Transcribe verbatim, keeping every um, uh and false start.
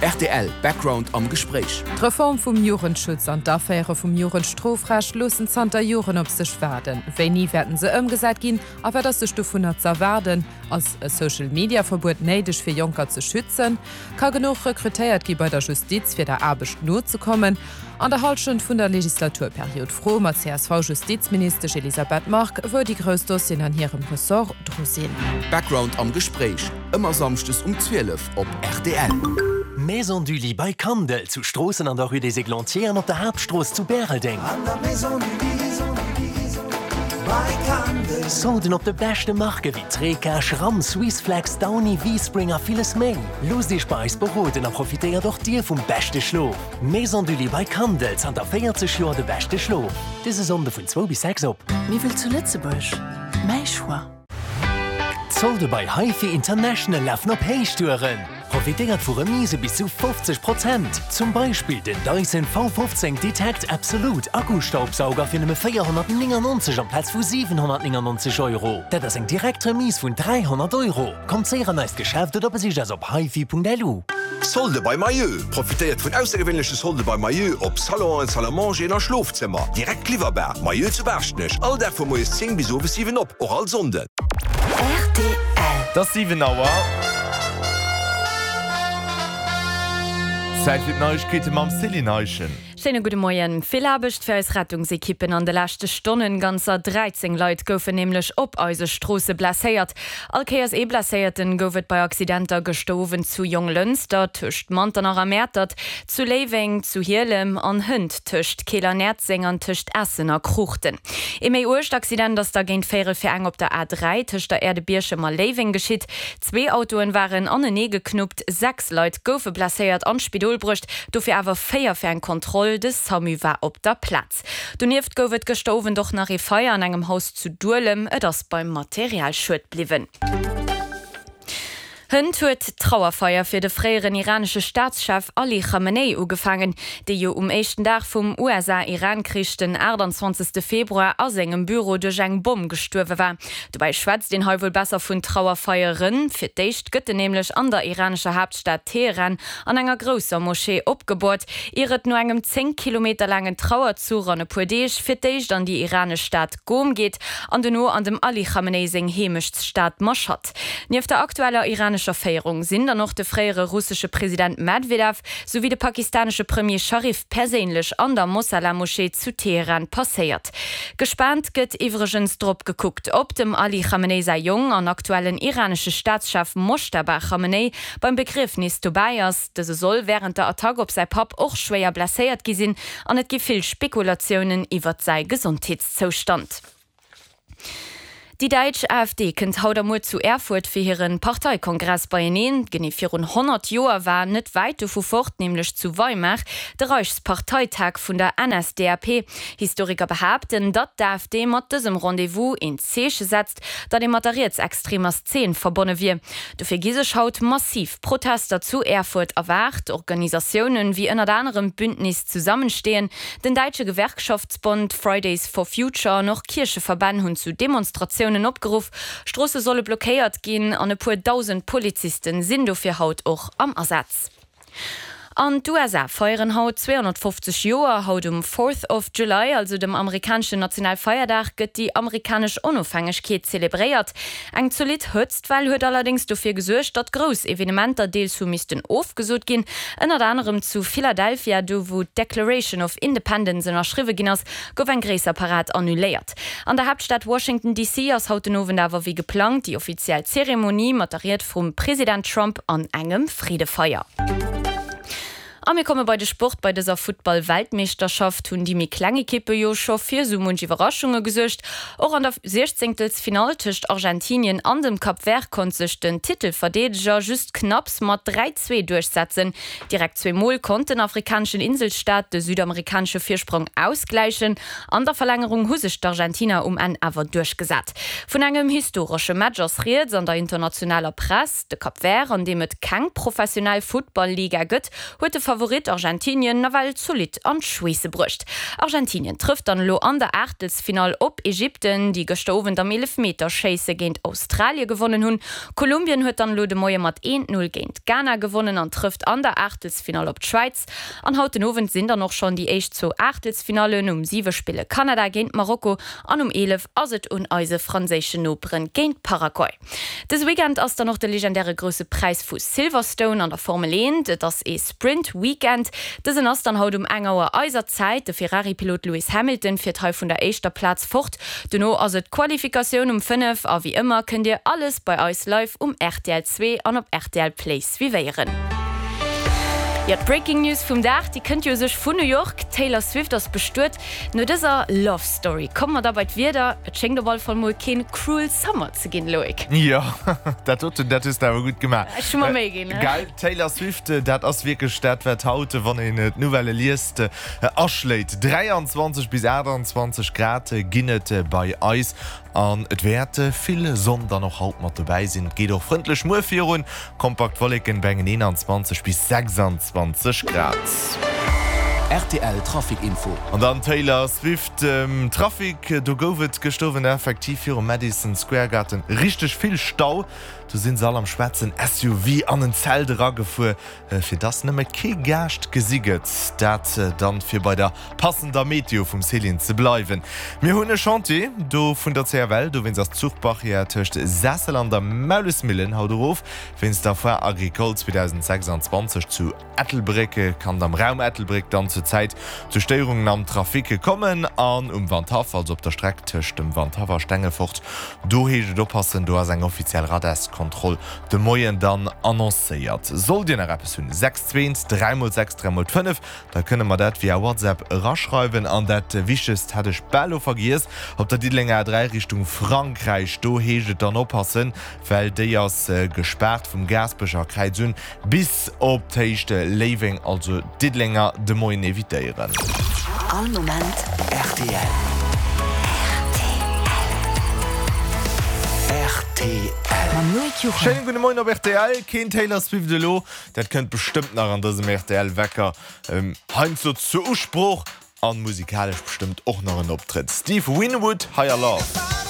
Rtl Background am Gespréich. D'Reform vum Jugendschutz an d'Aféiere vum Jugendstrofrecht loossen zanter Joren op sech waarden. Wéini wäerten se ëmgesat ginn a wat ass sech dovunner z'erwaarden? Ass e Social-Media-Verbuet néideg fir Jonker ze schützen? Ka genuch rekrutéiert gi bei der Justiz fir der Aarbecht nozekommen? An der Hallschent vun der Legislaturperiod froe mer d'CSV-Justizministesch Elisabeth Margue, wou déi grouss Dossieren an hirem Ressort dru sinn. Background am Gespréich, ëmmer samschdes um zwielef op rtl. Maison du Lit bei Kandel zu Stroossen an der Rue des Églantiers an op der Haaptstrooss zu Bäreldeng. Solden op de beschte Marke wéi Treca, Schramm, Swissflex, Downy, V-Spring a villes méi. Loosst Iech bei eis beroden a profitéiert och Dir vum beschte Schlof. Maison du Lit bei Kandel, zanter véierzeg Joer de beschte Schlof. Dëse Sonnde vun zwou bis sechs op. Miwwel zu Lëtzebuerg, mäi Choix. D'Solde bei HiFi International lafen op Héichtouren. Profitéiert vu Remise bis zu fofzeg Prozent. Zum Beispill den Dyson V fofzéng Detect Absolute Akkustaubsauger fir nëmme véierhonnertnéngannonzeg amplaz vu siwenhonnertnéngannonzeg Euro. Dat ass eng direkt Remise vun dräihonnert Euro. Kommt séier an eist Geschäft oder besicht eis op hifi Punkt lu. Solde bei Mayeux! Profitéiert vun aussergewéinleche Solde bei Mayeux op Salonen, Salle à manger a Schlofzëmmer. Direkt liwwerbar. Mayeux zu Baaschtnech. All Dag vu moies zéng bis owes siwen op, och all Sonnden. Rtl. Et ass siwen Auer. Zäit fir d'Neiegkeete mam Céline Eischen. Schéine gudde Moien. Vill Aarbecht fir eis Rettungsekippen an de leschte Stonnen. Ganzer dräizéng Leit goufen nämlech op eise Stroosse blesséiert. All Kéiers ee Blesséierten gouf et bei Accidenter gëschter Owend zu Jonglënster, tëscht Manternach a Mäertert, zu Léiweng, zu Hielem an hënt tëscht Keel an Näerzeng an tëscht Essen a Kruuchten. Ee méi uergt Accident ass da géint véierel vir eng op der A dräi tëscht der Aire de Bierchem a Léiweng geschitt. Zwee Autoen waren anenee geknuppt, sechs Leit goufe blesséiert an d'Spidol bruecht, dofir awer véier fir eng Kontroll, de Samu war op der Plaz. Donieft gouf et gëschter Owend och nach ee Feier an engem Haus zu Duelem, et ass beim Materialschued bliwwen. Hënt huet d'Trauerfeier fir de fréieren iranesche Staatschef Ali Khamenei ugefaangen, dee jo um éischten Dag vum U S A-Iran-Krich, den aachtanzwanzegste Februar, a sengem Büro duerch eng Bomm gestuerwe war. Dobäi schwätzt een hei wuel besser vun Trauerfeieren. Fir d'éischt gëtt en nämlech an der iranescher Haaptstad Teheran an enger grousser Moschee opgeboort, ier et no engem zéng Kilometer laangen Trauerzuch an e puer Deeg fir d'éischt an déi iranesch Stad Qom geet an dono an dem Ali Khamenei seng Heemechtsstad Mashhad. Nieft der aktueller iranescher Féierung sinn dann och de fréiere russesche President Medvedev souwéi de pakistanesche Premier Sharif perséinlech an der Mosala-Moschee zu Teheran passéiert. Gespaant gëtt iwwregens drop gekuckt, ob dem Ali Khamenei säi Jong an aktuellen iranesche Staatschef Moschtaba Khamenei beim Begriefnis dobäi ass. Dëse soll wärend der Attack op säi Papp och schwéier blesséiert gi sinn an et gi vill Spekulatiounen iwwert säi Gesondheetszoustand. Déi däitsch A F D kënnt haut a muer zu Erfurt fir hiren Parteikongress beieneen. Genee virun honnert Joer war net wäit dovu fort, nämlech zu Weimar, de Reichsparteitag vun der N S D A P. Historiker behaapten, datt d'A F D mat dësem Rendez-vous een Zeeche setzt, datt ee mat der rietsextremer Szene verbonne wier. Dofir gi sech haut massiv Protester zu Erfurt erwaart. Organisatiounen wéi ënnert anerem d'Bündnis Zusammenstehen, den däitsche Gewerkschaftsbond Fridays for Future an och Kiercheverbänn hunn zu Demonstratiounen opgeruff. Stroosse solle blockéiert ginn an e puer dausend Polizisten sinn dofir haut och am Asaz. An d'U S A feieren haut zweehonnertfofzeg Joer. Haut um Fourth of July, also dem amerikaneschen Nationalfeierdag, gëtt déi amerikanesch Onofhängegkeet zelebréiert. Eng zolidd Hëtztwell huet allerdéngs dofir gesuergt, datt grouss Evenementer deels hu missten ofgesot ginn. Ënnert anerem zu Philadelphia, do wou d'Declaration of Independence ënnerschriwwe ginn ass, gouf eng gréisser Parad annuléiert. An der Haaptstad Washington D C ass haut den Owend awer wéi geplangt déi offiziell Zeremonie mat der Ried vum President Trump an engem Freedefeier. A mir komme bei de Sport. Bei dëser Futtball-Weltmeeschterschaft hunn déi méi kleng Ekippe jo scho fir sou munch Iwwerraschunge gesuergt. Och an der Siechzéngtelsfinall tëscht Argentinien an dem Cap Vert konnt sech den Titelverdeedeger just knapps mat dräi, zwee duerchsetzen. Direkt zwee Mol konnt den afrikaneschen Inselstaat de südamerikanesche Virsprong ausgläichen. An der Verlängerung hu sech d'Argentiner um Enn awer duerchgesat. Vun engem historesche Match ass rieds an der internationaler Press. De Cap Vert, an deem et keng professionell Futtball-Liga gëtt, huet de Favorit Argentinien nawell zolidd an d'Schweesse bruecht. Argentinien trëfft dann elo an der Aachtelsfinall op Ägypten, déi gëschter Owend am Eelefmeterschéisse géint Australie gewonnen hunn. Kolumbien huet dann elo de Moie mat eent, Null géint Ghana gewonnen an trëfft an der Aachtelsfinall op d'Schwäiz. An haut den Owend sinn dann och schonn déi éischt zwou Aachtelsfinallen, Um siwe spille Kanada géint Marokko an um eelef ass et un eise franséischen Noperen géint Paraguay. Dëse Weekend ass dann och de legendäre Grousse Präis vu Silverstone an der Formel eent. Et ass ee Sprint Weekend. Dësen ass dann haut um eng Auer eiser Zäit. De Ferrari-Pilot Lewis Hamilton fiert hei vun der éischter Plaz fort. Dono ass et d'Qualifikatioun um fënnef a wéi ëmmer kënnt dir alles bei eis live um rtl zwee an op rtl Play suivéieren. Jo, d'Breaking News vum Dag, déi kënnt jo u sech vun New York, D'Taylor Swift ass bestuet. No dëser Love Story komme mer da bei d'Wieder. Et schéngt op all Fall mol keen Cruel Summer ze ginn, Loïc. Jo, dat doten, dat hues de awer gutt gemaach. Ech hu mer Méi ginn, ne? Geil, Taylor Swift, dat ass wierklech dat, wat haut, wann een d'Nouvellë liest, aschléit. dräianzwanzeg bis aachtanzwanzeg Grad ginn et bei eis An et wäert vill Sonn dann och haut mat dobäi sinn. Et geet och frëndlech muer virun, kompakt Wolleken bei engen eenanzwanzeg bis sechsanzwanzeg Grad. Rtl Trafic Info. An dann Taylor Swift, Trafic, do gouf et gëschter Owend effektiv virum Madison Square Garten richteg vill Stau. Do sinn se all am schwaarzen S U V an en Zelt eragefuer, fir dass nëmme kee Gaascht gesi gëtt. Dat dann fir bei der passender Meteo vum Céline ze bleiwen. Mir hunn e Chantier do vun der C F L, dowéinst ass d'Zuchbarrière tëscht Sessel an der Maulesmillen haut erof. Wéinst der Foire Agricole zweedausendsechsanzwanzeg zu Ettelbréck kann et am Raum Ettelbréck dann zur Zäit zu Stéierungen am Trafic kommen. An um Wandhaff, also op der Streck tëscht dem Wandhaff a Stengefort, do heescht et oppassen, do ass eng offiziell Radarskontroll de Moien dann annoncéiert. Sollt Dir nach eppes hunn, sechs zwee eent dräi mol sechs dräi mol fënnef, da kënne mer dat via WhatsApp eraschreiwen. An dat Wichtegst hat ech bal elo vergiess, Op der Diddelenger A dräi Richtung Frankräich, do heescht et dann oppassen, well déi ass gespaart vum Gaasperecher Kräiz un bis op d'Héicht Léiweng, also Diddelenger de Moien evitéieren. All Moment rtl. Rtl. Mam Loïc Juchem. Schéinen gudde Moien op rtl. Keen Taylor Swift elo, dat kënnt bestëmmt nach an dësem rtl Wecker heiansdo zur Usprooch. An musikalesch bestëmmt och nach en Optrëtt. Steve Winwood, Higher Love.